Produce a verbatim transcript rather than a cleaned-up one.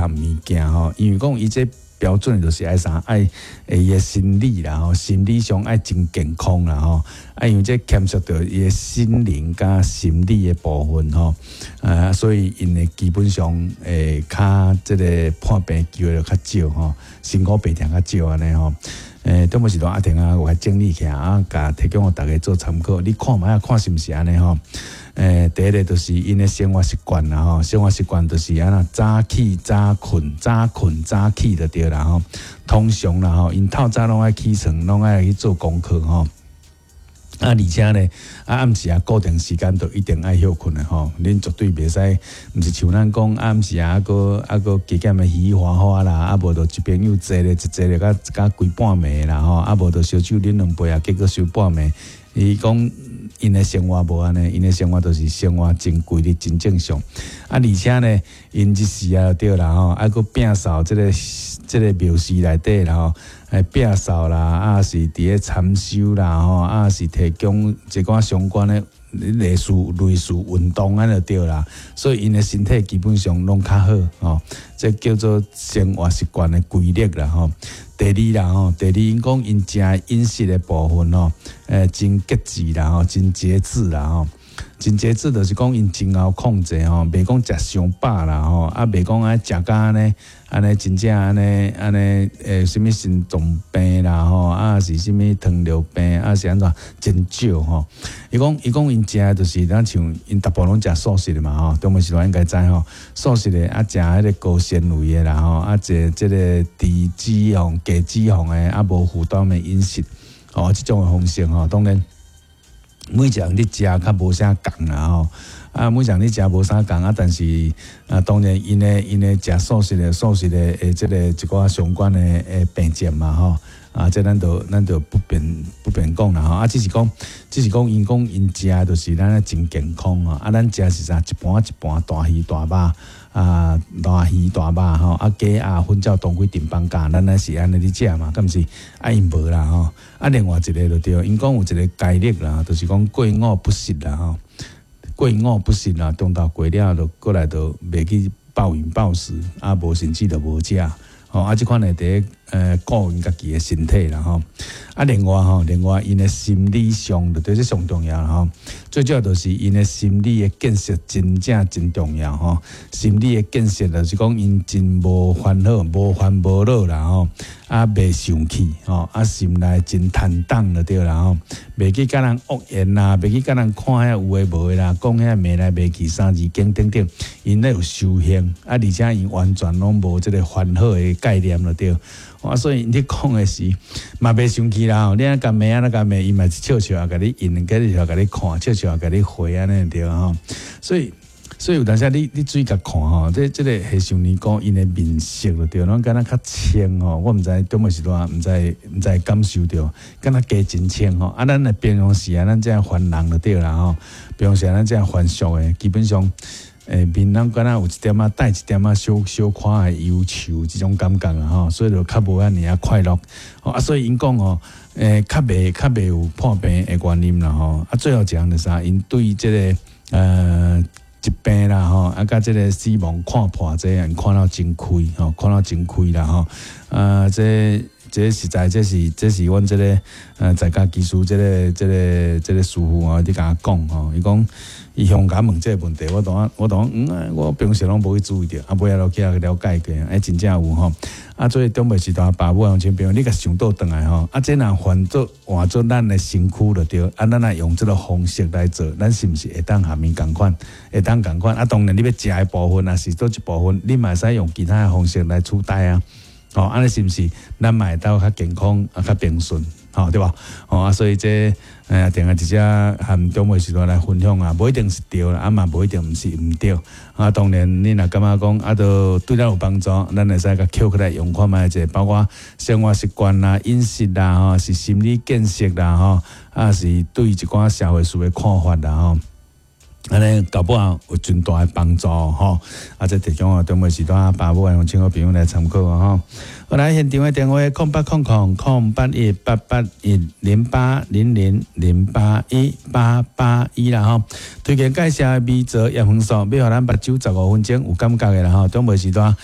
項物件吼，因為講伊這標準就是愛啥愛伊的心理啦吼，心理上愛真健康啦吼，啊因為這牽涉著伊的心靈佮心理的部分吼，啊所以𪜶的基本上會較這個破病機會就較少吼，辛苦病痛較少按呢吼。欸，中晡時段阿婷啊，有來整理起來啊，共提供予大家做參考。你看覓仔看是毋是按呢吼？欸，第一个就是𪜶的生活習慣啦吼，生活習慣就是按怎早起早睏，早睏早起就對啦吼。通常啦吼，𪜶透早攏愛起床，攏愛去做功課吼。啊，而且呢，啊暗時啊固定時間就一定愛歇睏的吼，恁絕對袂使，毋是像咱講暗時啊，閣啊閣加減的嘻嘻哈哈啦，啊無就一朋友坐咧一坐咧甲甲規半暝啦吼，啊無就燒酒啉兩杯啊，結果燒半暝。伊講𪜶的生活無按呢，𪜶的生活就是生活真規律、真正常。啊，而且呢，𪜶日時啊對啦吼，啊閣摒掃這个這个廟寺內底啦吼。欸，摒掃啦，啊是佇咧禪修啦，吼，啊是提供一寡相關的類似類似運動按呢就對啦，所以𪜶的身體基本上攏較好吼，這叫做生活習慣的規律啦吼。第二啦吼，第二𪜶講𪜶食飲食的部分吼，欸，真節制啦吼，真節制啦吼。真節制就是講𪜶真𠢕控制吼，袂講食傷飽啦吼，啊袂講愛食甲按呢按呢真正按呢按呢欸，啥物心臟病啦吼，啊是啥物糖尿病，啊是按怎真少吼。伊講伊講𪜶食的就是咱像𪜶大部分攏食素食的嘛吼，中晡時段應該知吼，素食的啊食彼个高纖維的啦吼，啊食這个低脂肪、低脂肪的啊無負擔的飲食，吼，這種的方式吼，當然。每一個人咧食較無啥仝啦吼，啊，每一個人咧食無啥仝啊，但是啊，當然𪜶的𪜶的食素食的素食的的這個一寡相關的的病症嘛吼，啊，這咱就咱就不便不便講啦吼，啊，只是講只是講𪜶講𪜶食就是咱真健康吼，啊，咱食是啥？一盤一盤大魚大肉啊，大魚大肉吼，啊，雞鴨粉照當歸定放假，咱乃是按呢咧食嘛，敢毋是？啊，𪜶無啦吼，啊，另外一个就對，𪜶講有一個戒律啦，就是講過午不食啦吼，過午不食啦，中晝過了就過來就袂去暴飲暴食，啊，無甚至就無食，吼，啊，這款會佇咧呃顧𪜶家己的身體啦吼，啊，另外吼，另外𪜶的心理上就對這上重要啦吼，最主要就是𪜶的心理的建設真正真重要吼，心理的建設就是講𪜶真無煩惱、無煩無惱啦吼，啊，袂生氣吼，啊，心內真坦蕩就對啦吼，袂去共人惡言啦，袂去共人看遐有的無的啦，講遐罵來罵去三字經等等，𪜶咧有修行，啊，而且𪜶完全攏無這个煩惱的概念就對。啊，所以你講的是嘛袂生氣啦，你按共罵按怎共罵，伊嘛是笑笑啊，共你應，共你笑共你看，笑笑啊，共你回按呢對吼。所以，所以有當時你你注意共看吼，這這个和尚尼姑𪜶的面色就對，攏敢若較清吼。我毋知中晡時段，毋知毋知感受著，敢若加真清吼。啊，咱的平常時啊，咱這凡人就對啦吼。平常時咱這凡俗的，基本上。欸，面攏敢若有一點仔帶一點仔小小可的憂愁這種感覺啊吼，所以就較無遐爾仔快樂。啊，所以𪜶講吼，欸，較袂較袂有破病的原因啦吼。啊，最後一項就是啥？𪜶對這个呃疾病啦吼，啊，佮這个死亡看破這個，看了真開吼，看了真開啦吼。啊，這這實在這是這是阮這个呃在家居士這个這个這个師父啊，佇共我講吼，伊講。伊向共問這个問題，我當我當嗯，我平時攏無去注意著，啊，尾仔落去了解過，欸，真正有吼。啊，所以中晡時段爸母鄉親朋友，你共想倒轉來吼，啊，這若換做換做咱的身軀就對，啊，咱若用這个方式來做，咱是毋是會當和𪜶仝款？會當仝款？啊，當然你欲食的部分，抑是佗一部分，你嘛會使用其他的方式來取代啊。吼，按呢是毋是？咱嘛會當較健康，啊，較平順，吼，對無？吼啊，所以這欸，定下一隻和中晡時段來分享啊，無一定是對啦，啊嘛無一定毋是毋對。啊，當然你若感覺講啊，都對咱有幫助，咱會使共抾起來用看覓者，包括生活習慣啦、飲食啦，吼，是心理建設啦，吼，啊是對一寡社會事的看法啦，吼。按呢搞不好有真大的幫助吼，啊，這提供予中晡時段爸母鄉親好朋友來參考吼。好來現場的電話：空八空空空八一八八一零八零零零八一八八一啦吼。推薦介紹的米澤葉黃素，欲予咱目睭十五分鐘有感覺的啦吼。中晡時段